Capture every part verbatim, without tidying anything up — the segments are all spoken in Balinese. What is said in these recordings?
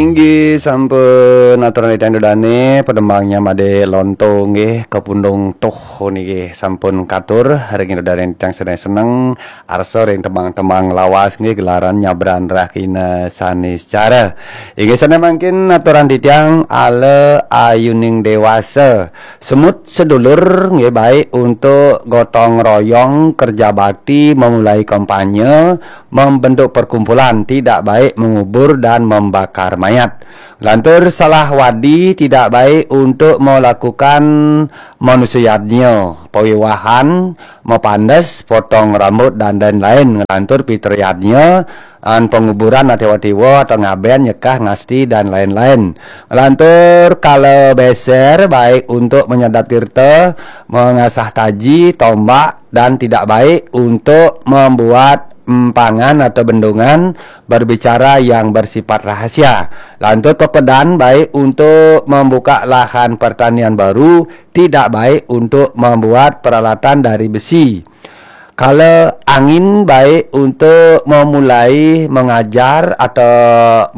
Inggih sampun aturan titiang ida dane, pademangnya Made Lonto nggih, kapundung tuh niki sampun katur ring ida dane titiang sedaya seneng, arsa ring tembang-tembang lawas nggih gelaran nyabran rahina saniscara. Inggih sane mangkin aturan titiang ala ayuning dewasa. Semut sedulur nggih baik untuk gotong royong kerja bakti, memulai kampanye, membentuk perkumpulan, tidak baik mengubur dan membakar mayat. Lantur salah wadi tidak baik untuk melakukan manusia yadnya, pawiwahan, mapandes, potong rambut dan lain-lain. Lantur pitrayadnya an penguburan tiwa-tiwa atau ngaben, nyekah, ngasti dan lain-lain. Lantur kala beser baik untuk menyadap tirta, mengasah taji, tombak dan tidak baik untuk membuat empangan atau bendungan berbicara yang bersifat rahasia. Lantur pepedan baik untuk membuka lahan pertanian baru, tidak baik untuk membuat peralatan dari besi. Kala angin baik untuk memulai mengajar atau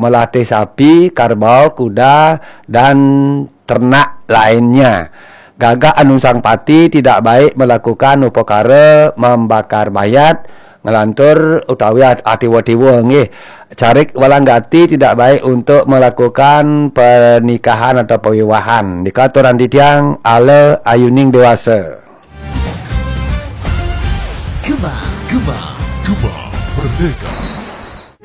melatih sapi, karbau, kuda dan ternak lainnya. Gagah anu sang pati tidak baik melakukan upakara membakar mayat, nglantur utawi at- atiwa-tiwa nggih. Carik walanggati tidak baik untuk melakukan pernikahan atau pawiwahan. Nika aturan titiang ala ayuning dewasa. Gema, gema, gema, merdeka.